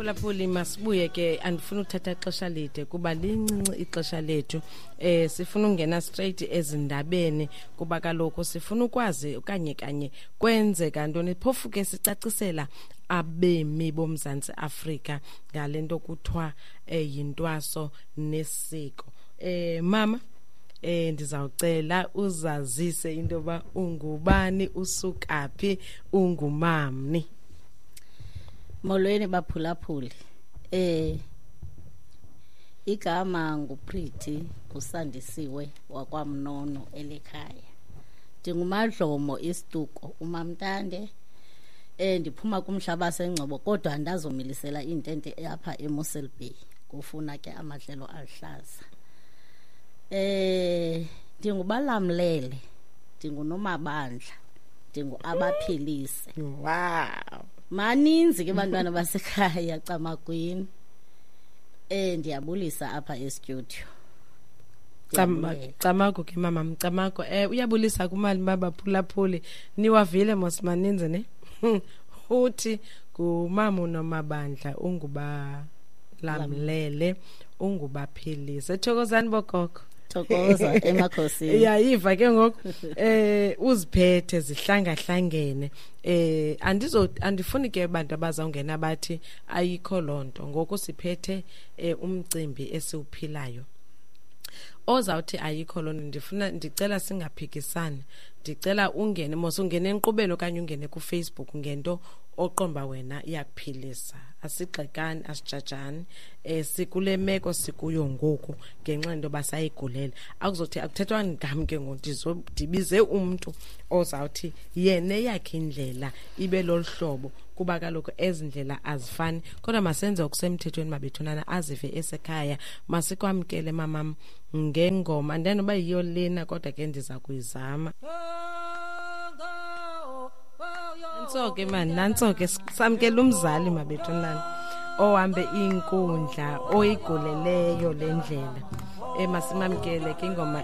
Phulaphuli, masibuye ke. Andifuna ukuthatha ixesha lide kuba lincinci ixesha lethu. Sifuna ungena straight ezindabeni kuba kaloku sifuna ukwazi okanye kanye kwenzeka ntoni. Phofu ke sicacisela abemi boMzantsi Afrika ngale nto kuthiwa yintwaso nesiko. Mama, ndizawucela uzazise into yoba ungubani, usukaphi, ungumamni. Molweni baphulaphuli. Igama nguPretty uSandisiwe wakwaMnono elekhaya. Ndingumadlomo isiduko uMamntande. Ndiphuma kumhlaba sengcobo kodwa ndazomilisela intente apha eMossel Bay. Kufuna ke amadlelo aluhlaza. Ndingubalamlele, ndingunomabandla, ndinguabaphilise. Wow. Maninzi ke bantwana basekhaya Camagwini. Ndiyabulisa apha e-studio. Camago ke mama, mcamago. Uyabulisa kumali babaphulaphuli. Niwavile mos maninzi ne? Uthi ngumama uNomabandla, ungubalamlele, ungubaphilise. Thokozani bogogo. Thokoza emakhosini. Uyayiva ke ngoku. Uziphethe zihlangahlangene. Andifuni ke abantu abazawungena bathi ayikho lonto. Ngoku siphethe umcimbi esiwuphilayo. Ozawuthi ayikho lonto, ndicela singaphikisani. Ndicela ungene mos, ungene enkqubeni okanye ungene kuFacebook ngento oqomba wena iyakuphilisa. Asigxekani, asijajani. Sikule meko sikuyo ngoku ngenxa yento yoba sayigulela. Akuzothi akuthethwa ngam ke ngoku, ndibize umntu ozawuthi yena eyakhe indlela ibe lolu hlobo, kuba kaloku ezi ndlela azifani. Kodwa masenze okusemthethweni mabethunana, azive esekhaya. Masikwamkele mamam ngengoma. Andiyani noba yiyo lena kodwa ke ndiza kuyizama. Nantso ke mani, nantso ke samkela umzali mabethunana ohambe inkundla oyiguleleyo le ndlela. Masimamkele ke ingoma.